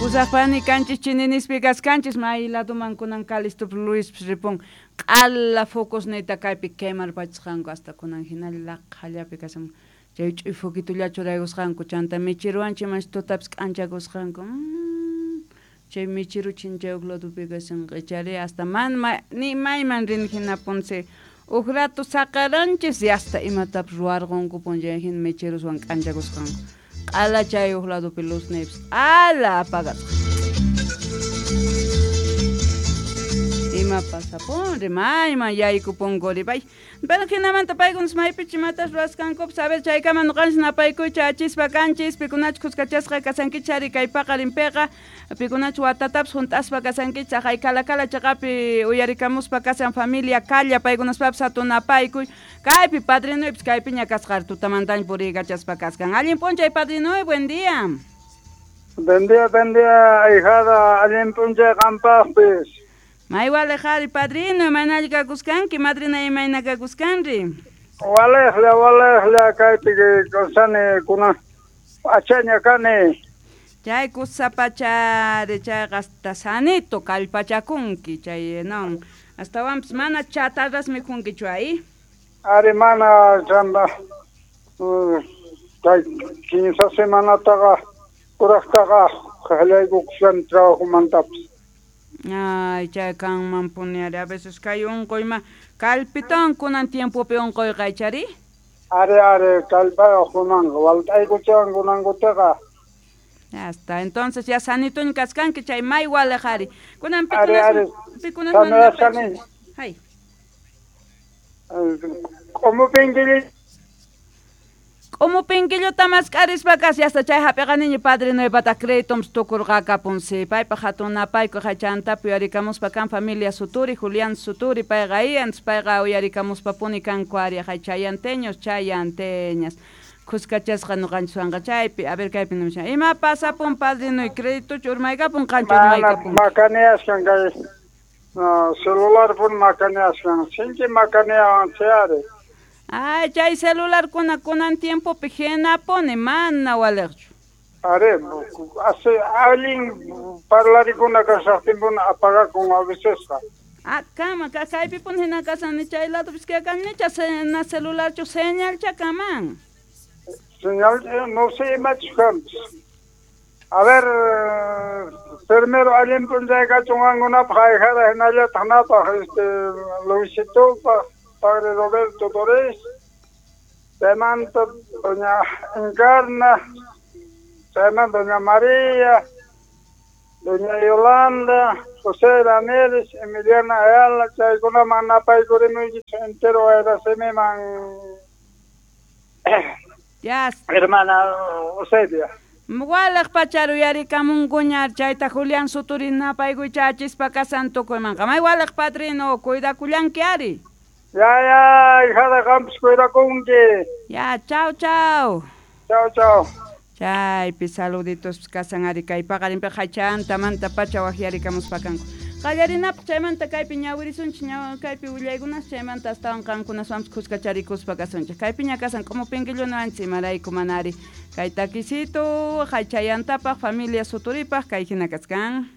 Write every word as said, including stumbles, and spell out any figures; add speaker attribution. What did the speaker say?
Speaker 1: Pusaqpani kanchis chininispi kaskanchis may laduman kunan Calisto Luis ripun q'ala focusniyta kaypi quemarpachisqanku hasta kunan hinalla laqhallapi kashan chay ch'uy foquitulla churaykusqanku chanta michiruwanchik mas tutapis k'anchakusqanku mm, chay michiru chinchayuq ladupi kashan q'ichari hasta man ma, ni mayman rin hinapunsi uj rato saqaranchis y hasta imatapis ruwarqunku chay hina michiruswan k'anchakusqanku q'ala chay uj ladupi luzniypis q'ala apagasqa ima pasapunri mayman yaykupunkuri pay pero hinamanta paykunas maypichu imatas ruwasqankupis a ver chaykama ñuqanchis napaykuycha achispa kanchis pikunachu kuskachasqa kasankichis ari kay paqarinpiqa pikunachu watatapis hunt'aspa kasankichis aqay Calacala chaqapi uyarikamuspa kasan familia Calla paykunaspapis hatun napaykuy kaypi padrinuypis kaypiña kasqa tutamantaña puriykachaspa kasqan allin p'unchay padrinuy buen día.
Speaker 2: Buen día, buen día, ahijada, allin p'unchay qampaqpis.
Speaker 1: May walejari padrino, imaynalla kakuskanki, madrina imayna kakuskanri.
Speaker 2: Walejlla, walejlla, kaypi kawsani kunan achaña kani.
Speaker 1: Chay kusapachari, chayqa hasta sanito kallpachakunki, chay non, astawanpis mana chatarras mikhunkichu ahí.
Speaker 2: Ari mana chamba, kay kinsa semanataqa kuraqtaqa qallaykukushan trabajomantapis.
Speaker 1: Ay, chay kanman puni ari, a veces kay unquyma kallpitawan kunan tiempopi unquyqa ichari?
Speaker 2: Ari, ari, kallpayuq kunanqa, walt'aykuchawan kunankutaqa.
Speaker 1: Ya está, entonces ya sanituña kaskanki chay may waliq ari. Kunan
Speaker 2: Ari, ari,
Speaker 1: pikunas
Speaker 2: sanurashani.
Speaker 1: Hay.
Speaker 2: Q'umu pinkilli.
Speaker 1: Q'umu pinkilluta mask'arispa kas hasta chay hap'iqaniña padrinuypata créditoms tukurqakapunsi paypaq hatun napayku chantap uyarikamuspa kan familia Suturi, Julián Suturi payqa iyanchis payqa uyarikamuspapuni kanku ari hay chayanteños chayanteñas kuskachasqa ñuqanchiswanqa chaypi a ver kaypi nimushan ima pasapun padrinuy créditochu urmaykapun qanchu
Speaker 2: Mana
Speaker 1: urmaykapun
Speaker 2: makaniyashkan kay no, celular pun makaniyashkan sinchi makaniyawan chay ari.
Speaker 1: Ay, chay celularkuna kunan tiempopi hinapuni mana waliqchu.
Speaker 2: Ari, hace allin parlarikuna kashaqtinpuni apagakun a vecesqa.
Speaker 1: Ah, kama, kaypipuni hina kashan chay ladupis kaykan nicha na celularchu señalcha kaman.
Speaker 2: Señal, no sé imachus kanpis. A ver, primero allin p'unchay kachun qankunapaq ahijada hinallataq napaq este Luisitupaq padre Roberto Torres, chaymanta doña Encarna, chaymanta doña María, doña Yolanda, José Ramírez, Emiliana Ayala, chaykunaman napaykurimuykichik entero wayrasimiman
Speaker 1: Ya.
Speaker 2: Hermana Eusebia.
Speaker 1: Waliq pachar uyarikamunkuña chayta Julián Suturi napaykuycha achispa kasan tukuymanqa may waliq padrino cuidakullanki ari.
Speaker 2: Ya, ya, hijada qampis cuidakunki.
Speaker 1: Ya, chau, chau.
Speaker 2: Chau, chau.
Speaker 1: Chaypi saluditos kasan ari kay paqarinpiqa chantamanta pacha waqyarikamuspa kanku. Qallarinapaq chaymanta kaypi ñawirisunchik ñaw kaypi willaykunas chaymanta astawan qankunaswanpis kuskacharikuspa kasunchik. Kaypiña kasan q'umu pinkillunawanchik imarayku mana ari kay takisito haychayantapaq familia Suturipaq kay hina kaskan.